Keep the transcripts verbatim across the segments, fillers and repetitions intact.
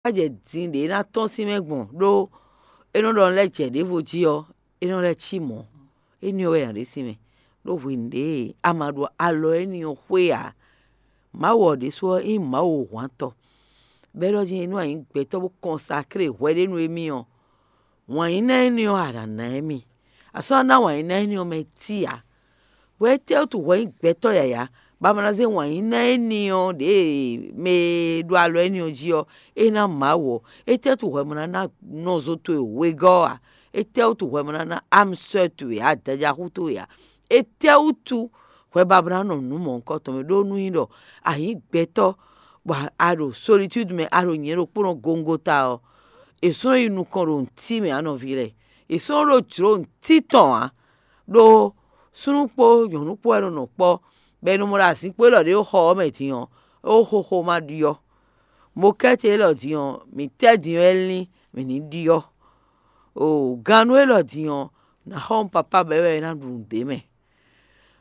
jɛ din ɖě ná tɔ́n sín mɛ gbɔn ɖó é nɔ ɖɔ lɛ́ jɛ ɖěvo jí ɔ́, é nɔ lɛ́ cí mɔ̌. Éní ɔ́ wɛ nya ɖě sín mɛ, ɖó hwenu ɖě a ma ɖo alɔ éní ɔ́ xwé ǎ. Mawu ɔ́ ɖésú ɔ́ nyí Mawu hwantɔ́, bɔ é ɖɔ jí nú a nyǐ gbɛtɔ́ bó kɔnsaklé hwɛ ɖé nú émí ɔ́, wǎn yí ná éní ɔ́ a nǎ ná émí. A sɔ́ ná ná wǎn yí ná éní ɔ́ mɛ cí ǎ. Hwɛ étɛ́ wútu hwɛ nyí gbɛtɔ́ yǎyá, bɔ a ma ná zé wǎn yí ná éní ɔ́ ɖě mɛ e ɖo alɔ éní ɔ́ jí ɔ́, é ná Mawu ɔ́? Étɛ́ wútu hwɛ ma ná ná nɔzo towe wegɔ́ ɔ́ ǎ? Étɛ́ wútu hwɛ ma ná ná amsɔ́ towe ǎ, adajaxú towe ǎ? Étɛ́ wútu hwɛ ba ba ná nɔ nǔ mɔ̌hunkɔtɔn mɛ ɖó nú nyí ɖɔ a nyǐ gbɛtɔ́, bɔ a ɖo solitúdi mɛ, a ɖo nyɛ ɖokpónɔ gongota ɔ́, è sɔ́ nɔ yi nukɔn ɖo nǔtí mɛ ǎ nɔví lɛ́ɛ. È sɔ́ nɔ ɖo jlǒ nǔtí tɔn ǎ, ɖó súnnu kpó nyɔ̌nu kpó wɛ nɔ nɔ kpɔ́, bɔ è nɔ mɔ ɖo azinkpo élɔ́ ɖě ɖo xɔ ɔ́ mɛ din ɔ́, é xo xóxó ma ɖyɔ́. Mokɛ́te élɔ́ din ɔ́, mǐ tɛ́ din ɔ́ é lín, mǐ ní ɖyɔ́. O gannú élɔ́ din ɔ́, nǎ xɔ nú papá bɔ é wɛ é ná ɖu nǔ d'é mɛ.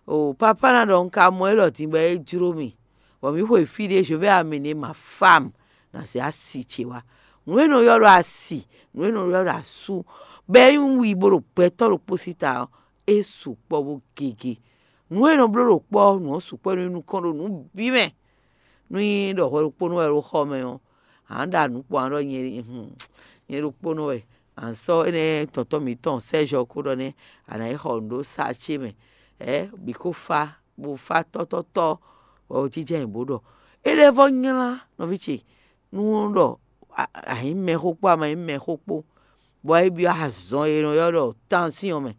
O papá ná ɖɔ un ka mɔ élɔ́ din bɔ é jló mì, bɔ mǐ xwe fí ɖé, je vais amener ma femme, ná zé asi ce wá. Nǔ e nɔ ylɔ́ ɖɔ asi, nǔ e nɔ ylɔ́ ɖɔ asú, bɔ é nyí wi bó ɖo gbɛtɔ́ ɖokpó sín ta ɔ́, é sukpɔ́ bó gege. Nǔ e nɔ bló ɖo kpɔ́ ɔ́, nǔ ɔ́ sukpɔ́ nú nukɔn ɖo nǔ bǐ mɛ. Nú nyí ɖɔ hwɛ ɖokpónɔ wɛ ɖo xɔ mɛ ɔ́, a nǎ ɖo nǔ kpɔ́n a ɖɔ nyɛ ɖokpónɔ wɛ. A nǎ sɔ́ énɛ́ tɔntɔ́n mǐtɔn Sɛ́zɔ kó ɖɔ nɛ́, a nǎ yi xɔ nǔ ɖó sa ce mɛ. Ɛ bǐ kó fá, bó fá tɔ́tɔ́tɔ́, bɔ jínjɔ́n ayǐ bó ɖɔ: É lɛ́ vɔ́ nylá nɔví ce, nú ɖɔ a nyǐ mɛxó kpó a ma nyí mɛxó kpó, bɔ é byɔ́ azɔn e nɔ ylɔ́ ɖɔ tansyɔ́n mɛ.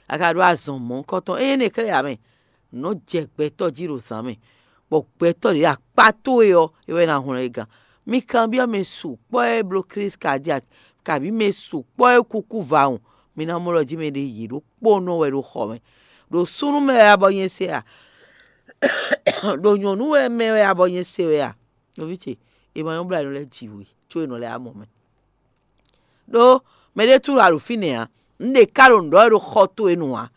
A ka ɖó azɔn mɔ̌hunkɔtɔn ényí énɛ́ kɛ́ɖɛ́ ǎ mɛ, nǔ nɔ jɛ gbɛtɔ́ jí ɖo zǎn mɛ, bɔ gbɛtɔ́ ɖě akpá towe ɔ́, é wɛ ná hwlɛ́n é gán. Mi kanbyɔ́ mɛ sukpɔ́ e bló Klísu ka jí a, kabǐ mɛ sukpɔ́ e kúkú vawun, mi ná mɔ ɖɔ jí mɛ ɖě yě ɖokpónɔ wɛ ɖo xɔ mɛ. Ɖo súnnu mɛ wɛ a bɔ nyɛ se a? Ɖo nyɔ̌nu wɛ mɛ wɛ a bɔ nyɛ se wɛ a? Nɔví ce, è ma nyɔ́ bló anyi lɛ́ɛ ji we, có è nɔ lɛ́ amɔ mɛ. Ɖó mɛɖé tlú a ɖo fínɛ́ ǎ. Un ɖe ká ɖo nǔ ɖɔ wɛ ɖo xɔ towe nu ǎ.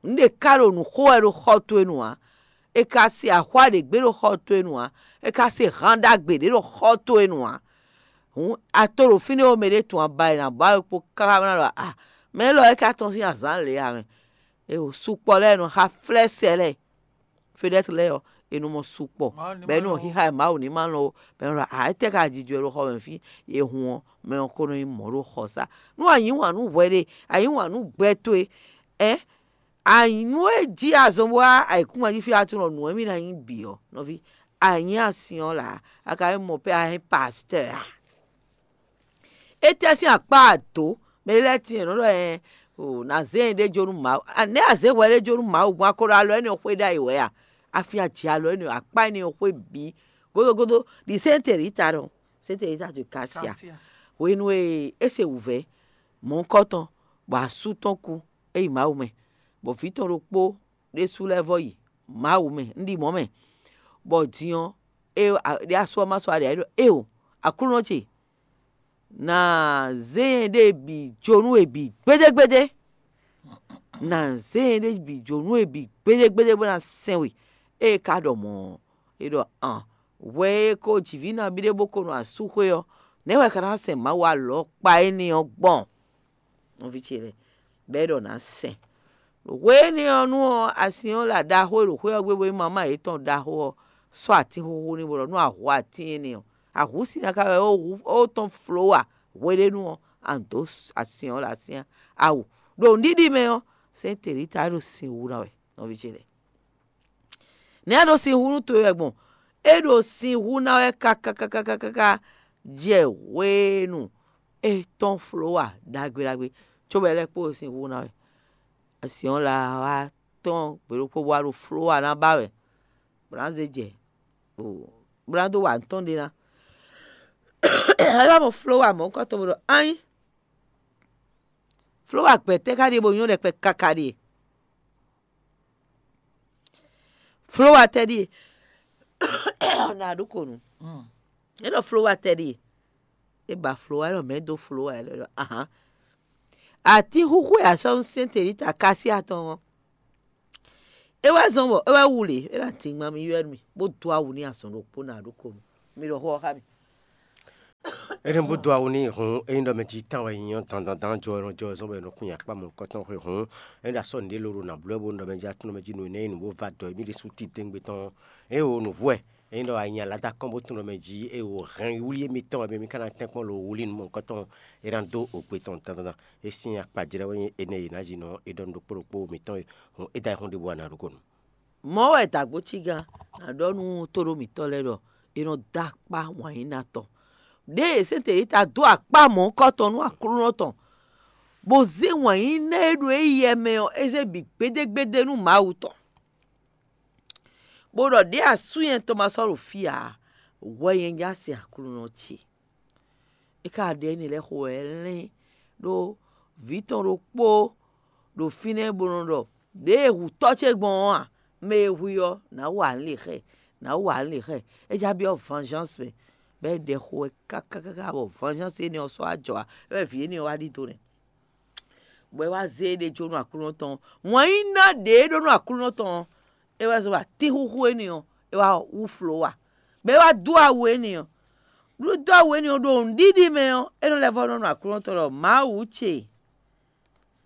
Un ɖe ká ɖo nǔ xo wɛ ɖo xɔ towe nu ǎ. È ka se axwá ɖě gbé ɖo xɔ towe nu ǎ. È ka se han ɖagbe ɖě ɖo xɔ towe nu ǎ. Hǔn a to ɖo fínɛ́ ó mɛɖé tun aba e nǎ ba wɛ kpó káká ná ɖɔ a, mɛ élɔ́ é ka tɔ́n sín azǎn lě ǎ mɛ. È o sukpɔ́ lɛ́ɛ nɔ xa flɛ́ sɛ lɛ́ɛ. Fedɛ́t lɛ́ɛ ɔ́, è nɔ mɔ sukpɔ́, bɔ é nɔ xixa e Mawu ní ma lɔn ó, bɔ é nɔ ɖɔ a, étɛ́ ka jijɔ ɖo xɔ mɛ fí? È hun ɔ́, mɛ ɔ́ ko nɔ nyí mɔ̌ ɖo xɔ sá. Nú a yǐ wǎn nú hwɛ ɖe, a yǐ wǎn nú gbɛ towe, ɛ́ a nyǐ nú é jí azɔn bó wá ayǐkúngban jí fí a tunɔ nǔ e mì ná nyí bǐ ɔ́, nɔví, a nyǐ asin ɔ́ lǎ, a ka nyí mɔ pé a nyí pastɔ́ a? Étɛ́ sín akpá adǒ mɛ lɛ́ɛ tíin nɔ ɖɔ ɛ o nǎ zé nyɛ ɖé jó nú Mawu? Nɛ̌ a zě hwɛ ɖé jó nú Mawu gbɔn a ko ɖo alɔ énɛ́ xwé ɖ'ayǐ wɛ a? A fin a jɛ alɔ énɛ́ akpá énɛ́ xwé bǐ gódógódó ɖi sɛ́ntɛ̌ ɖi ta ɖɔ sɛ́ntɛ̌ ɖi ta ɖo ka sia. Hwenu e é se wǔvɛ́ mɔ̌hunkɔtɔn, bɔ asú tɔn kú, é yi Mawu mɛ, bɔ vǐ tɔn ɖokpó ɖésú lɛ́ɛ vɔ yi Mawu mɛ, un ɖi mɔ̌ mɛ, bɔ din ɔ́, é ɖé asú ɔ́ ma sɔ́ aɖě ɖɔ éeǒ, Aklúnɔ ce, nǎ zé nyɛ ɖée bǐ jó nú we bǐ gbédégbédé. Nǎ zé nyɛ ɖée bǐ jó nú we bǐ gbédégbédé bó ná sɛn we. Ée é ka ɖɔ mɔ̌ ɔ́, é ɖɔ an, hwɛ e ko jǐví nabí ɖé bó ko nɔ asúxwé ɔ́, nɛ̌ wɛ è ka ná sɛn Mawu alɔkpa énɛ́ ɔ́ gbɔn? Nɔví ce lɛ́ɛ, bɔ é ɖɔ nǎ sɛn. Ɖo hwenu énɛ́ ɔ́, nú ɔ́, asin ɔ́ lɛ ɖaxó e ɖo xwé ɔ́ gbe bó nyí mamá yětɔn ɖaxó ɔ́ sɔ́ atínxóxó n'i bó ɖɔ nú a hu atín énɛ́ ɔ́, a hu sin ná ká wɛ ó tɔ́n folówa hweɖénu ɔ́, a nǐ dó asin ɔ́ ɖo asyán awu. Ɖo nǔɖiɖi mɛ ɔ́, sɛ́n Telita é ɖo sin hu ná wɛ, nɔví ce lɛ́ɛ. Nɛ̌ a ɖo sin hu nú towe wɛ gbɔn? É ɖo sin hu ná wɛ káká káká káká jɛ hwenu é tɔ́n folówa ɖagbe ɖagbe, cóbɔ é lɛ́ kpó sin hu ná wɛ. Asyɔ́n la wá tɔ́n gbe ɖokpó bó wá ɖo folówa ná ba wɛ, bó ná zé jɛ, bó ná dó wa nǔ tɔn ɖé ná. É wá mɔ folówa mɔ̌hunkɔtɔn bó ɖɔ anyi. Folówa gbɛtɛ́ ká ɖíe bó nyɔ́ ɖɛkpɛ káká ɖíe? Folówa tɛ́ ɖíe? Nǎ ɖu ko nǔ. É ɖɔ folówa tɛ́ ɖíe? É ba folówa, é ɖɔ mɛ̌ dó folówa, é ɖɔ ahan. Atínxúxú e a sɔ́ nú sɛ́n Telita ká sí atɔn ɔ́, é wɛ zɔ́n bɔ é wɛ wu lě, é ná din ma mi ywɛ́ nú mì, bó dó awu n'i azɔn ɖokpó nǎ ɖu ko nǔ. Mi ɖɔ xó ɔ́ xá mì. É nɔ bó dó awu n'i hǔn, ényí ɖɔ mɛ jí tán wɛ nyí ɔ́, dandandan jɔ e nɔ jɔ wɛ zɔ́n bɔ è nɔ kún nyi akpá mɔ̌hunkɔtɔn xwe hǔn, é nɔ ɖo asɔ́ nǔɖé lóɖo nǎ bló wɛ bónú ɖɔ mɛ jí atúnɔ mɛ jí nǔ énɛ́ e nǔ bó va dɔ émí ɖésú titewungbe tɔn ɔ́, é wo nǔvú wɛ. Ényí ɖɔ a nyi alǎ dó akɔ́n bó tunwun ɖɔ mɛ jí é wo hɛn wlí émítɔn wɛ bɔ émí ka ná tɛ́nkpɔ́n lo wlí nú mɔ̌hunkɔtɔn e ná dó ogbe tɔn dandandan. É sín akpa jlɛ́ wɛ nyí énɛ́ e è nǎ jí nɔ é ɖɔ nú ɖokpó ɖokpó mǐtɔn e hǔn é dó ayihún ɖěbǔ wá ná ɖokónu. Mɔ̌ wɛ dǎgbócígán ná ɖɔ nú tóɖó mǐtɔn lɛ́ɛ ɖɔ è nɔ dó akpá wǎnyíná tɔn. Ɖěe sɛ́ntɛ̌lita dó akpá mɔ̌hunkɔtɔn nú Aklúnɔ tɔn, bó zé wǎnyíná e ɖo éyɛ́ mɛ ɔ́, é zé bǐ gbédégbédé nú Mawu tɔn, bó ɖɔ ɖěe asú nyɛ tɔn ma sɔ́ ɖo fí ǎ, hwɛ nyɛ nyí asi Aklúnɔ ce. É ka ɖe énɛ́ lɛ́ɛ xo wɛ é lɛ́n ɖó vǐ tɔn ɖokpó ɖo fínɛ́ bó nɔ ɖɔ: "Ɖěe hu tɔ́ ce gbɔn ɔ́ a, mɛ e hu i ɔ́, nǎ wa nǔ lě xɛ, nǎ wa nǔ lě xɛ." É já byɔ́ vanzháns mɛ, bɔ é ɖɛ xo wɛ káká káká bɔ vanzháns énɛ́ ɔ́ sɔ́ wá jɔ wá, é wɛ vǐ énɛ́ ɔ́ wá ɖidó nɛ́. Bɔ é wá zé éɖée jó nú Aklúnɔ tɔn ɔ́. Wǎn yí ná ɖě e ɖó nú Aklúnɔ tɔn ɔ́, é wɛ zɔ́n ɖo atíxúxú énɛ́ ɔ́, é wá wú flǒwa, bɔ é wá dó awu énɛ́ ɔ́. Ɖó dó awu énɛ́ ɔ́ ɖo nǔɖiɖi mɛ ɔ́, é nɔ lɛ́ vɔ́ ɖɔ nú Aklúnɔ tɔn ɖɔ: "Mawu ce,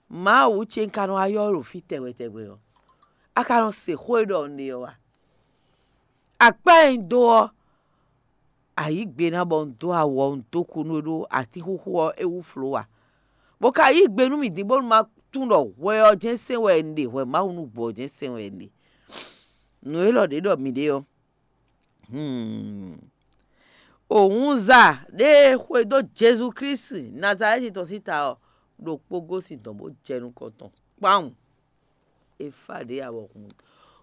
Mawu ce, un ka nɔ wá ylɔ́ we ɖo fí tɛgbɛ tɛgbɛ ɔ́, a ka nɔ se xó e ɖɔ un ɖe ɔ́ a? Akpá e un dó ɔ́, a yǐ gbe ná bɔ un dó awɔ, un dó kú nú we ɖó atíxúxú ɔ́, é wú flǒwa, bó ka yí gbe nú mì din bónú ma tunwun ɖɔ hwɛ ɔ́ jɛ́n sɛn wɛ un ɖe, hwɛ Mawu nú gbɔ ɔ́ jɛ́n sɛn wɛ un ɖe." Nǔ élɔ́ ɖě ɖɔ mǐ ɖe ɔ́, hmm, òwúnza ɖé e xwedó Jezu Klísu Nazalɛ́ti tɔn sín ta ɔ́, ɖokpó gosín dɔ̌n bó jɛ nukɔn tɔn kpawun. É fá ɖě ǎ bɔ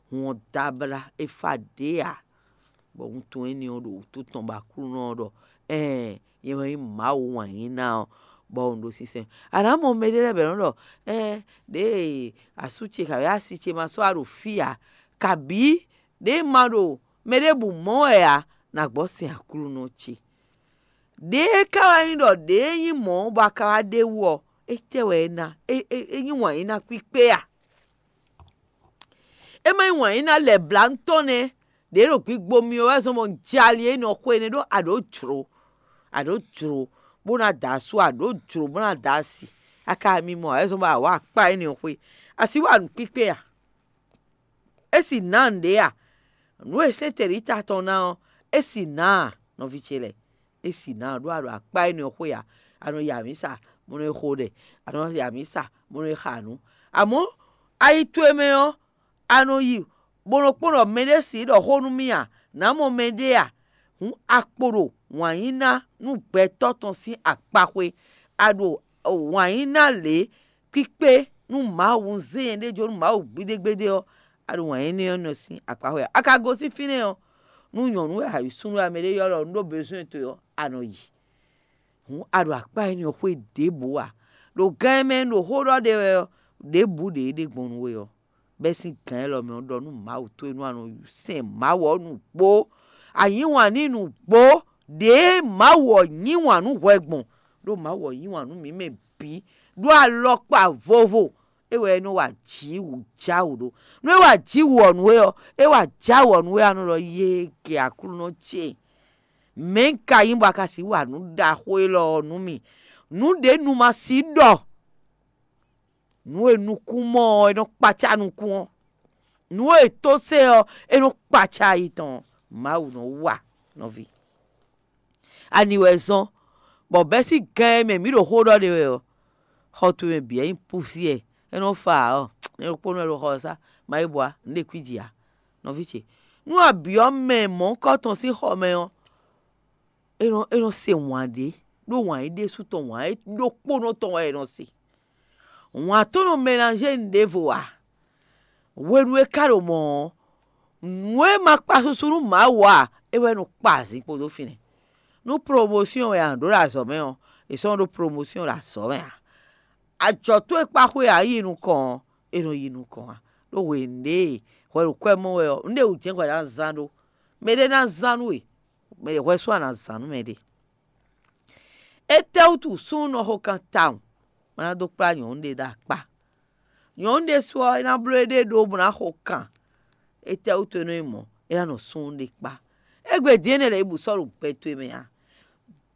hun ɔ́ dó abla, é fá ɖě ǎ, bɔ wuntun énɛ́ ɔ́ ɖo wǔtu tɔn bɔ Aklúnɔ ɔ́ ɖɔ: "Ɛɛn, nyɛ wɛ nyí Mawu wǎnyíná ɔ́, bɔ un ɖo sinsɛn." A nǎ mɔ mɛɖé lɛ́ɛ bɔ è nɔ ɖɔ: "Ɛɛn, ɖěe asú ce kabǐ asi ce ma sɔ́ wá ɖo fí ǎ, kabǐ ɖěe ma ɖo mɛ ɖěbǔ mɔ wɛ ǎ, ná gbɔ sin Aklúnɔ ce." Ɖěe ka wá nyí ɖɔ ɖě e nyí mɔ̌ bɔ a ka wá ɖe wú ɔ́, étɛ́ wɛ é ná? É nyí wǎn e ná kpíkpé a? É ma nyí wǎn e ná lɛ̌ blá nú tɔn nɛ́. Ɖě ɖo gbigbo mì ɔ́ wɛ zɔ́n bɔ un jɛ ali énɛ́ ɔ́ xwé nɛ́ ɖó a ɖǒ jlǒ, a ɖǒ jlǒ bó ná da asú, a ɖǒ jlǒ bó ná da asi. A ka mi mɔ ǎ wɛ zɔ́n bɔ a wǎ akpá énɛ́ ɔ́ xwé. A sixú wa nǔkpíkpé a? É si nǎ nǔɖé a? Nǔ e sɛ́n tɛ̌ɖíta tɔn ná ɔ́, é si nǎ a, nɔví ce lɛ́ɛ? É si nǎ ɔ́ ɖó a ɖo akpá énɛ́ ɔ́ xwé a? A nɔ yi amǐsa, bó nɔ́ yi xo ɖɛ, a nɔ yi amǐsa, bó nɔ́ yi xa nǔ. Amɔ̌, ayi towe mɛ ɔ́, a nɔ yi bó nɔ́ kpɔ́n ɖɔ mɛɖé sixú ɖɔ xó nú mì a? Nǎ mɔ mɛɖé a? Hǔn a kpo ɖo wǎn yí ná nú gbɛtɔ́ tɔn sín akpaxwé. A ɖo wǎn yí ná lě kpíkpé nú Mawu, un zé nyɛɖée jó nú Mawu gbídégbédé ɔ́, a ɖo wǎn énɛ́ ɔ́ nɔ sín akpaxwé ǎ. A ka gosín fínɛ́ ɔ́, nú nyɔ̌nu wɛ a yi súnnu wɛ a mɛ ɖé ylɔ́ ɖɔ un ɖó bezwɛ́n towe ɔ́, a nɔ yi. Hǔn a ɖo akpá énɛ́ ɔ́ xwé ɖěbǔ ǎ. Ɖo gan e mɛ un ɖo xó ɖɔ ɖe wɛ ɔ́, ɖěbǔ ɖě é ɖe gbɔn nú we ɔ́, bɛ́ sín gǎn élɔ́ mɛ ɔ́ ɖɔ nú Mawu towe nú a nɔ sɛn Mawu ɔ́ nǔgbó. A yǐ wǎn n'i nǔgbó, ɖěe Mawu ɔ́ yí wǎn nú hwɛ gbɔn, ɖó Mawu ɔ́ yí wǎn nú mǐ mɛ bǐ, ɖó alɔkpa vovo é wɛ é nɔ wa jǐ wǔ já wǔ ɖó. Nú é wa jǐ wǔ ɔ́ nú we ɔ́, é wa já wǔ ɔ́ nú we, a nɔ ɖɔ: "Yéegě Aklúnɔ ce, mɛ̌ un ka nyí bɔ a ka sixú wa nǔ ɖaxó élɔ́ ɔ́ nú mì? Nǔ ɖě nu ma sixú ɖɔ, nǔ e nukún mɔ ɔ́, é nɔ kpacá nukún ɔ́, nǔ e tó se ɔ́, é nɔ kpacá ayi tɔn." Mawu nɔ wa nɔví. Ani wɛ zɔ́n, bɔ bɛ́ sín gan e mɛ mǐ ɖo xó ɖɔ ɖe wɛ ɔ́, xɔ towe mɛ bǐ wɛ nyí púsiɛ, é nɔ fa ǎ ɔ́, nyɛ ɖokpónɔ wɛ ɖo xɔ ɔ́ sá, ma yi bɔ a nǔ ɖe kwíji ǎ, nɔví ce. Nú a byɔ́ mɛ mɔ̌hunkɔtɔn sín xɔ mɛ ɔ́, é nɔ é nɔ se wǎn ɖé, ɖó wǎn é ɖésú tɔn, wǎn é ɖokpónɔ tɔn wɛ é nɔ se. Wǎn tɔn nɔ mɛlanzé nǔ ɖěvo ǎ. Hwenu e ka ɖo mɔ̌ ɔ́, nǔ e ma kpa susu nú Mawu ǎ, é wɛ nɔ kpa azǐn kpódó fínɛ́. Nú promosyɔn wɛ a nǎ ɖó ɖo azɔ̌ mɛ ɔ́, è sɔ́ nɔ ɖó promosyɔn ɖo azɔ̌ mɛ ǎ. Ajɔ̌ towe kpa xwé ǎ yi nukɔn ɔ́, é nɔ yi nukɔn ǎ. Ɖó hwenu ɖě e hwɛ ɖo kwɛ́ mɔ wɛ ɔ́, nǔɖé wǔ jɛ́n hwɛ ná zán ɖó. Mɛɖé ná zán nú we, mɛ hwɛ sú a nǎ zán nú mɛɖé. Étɛ́wútu súnnu nɔ xo kan tawun, bó ná dó kplá nyɔ̌nu ɖé ɖó akpá? Nyɔ̌nu ɖésú ɔ́, é ná bló éɖée ɖó bó ná xo kan. Étɛ́wútu é nɔ nyí mɔ̌, é ná nɔ súnnu ɖé kpá? Égbé din énɛ́ lɛ́ɛ bǔ sɔ́ ɖo gbɛ towe mɛ ǎ.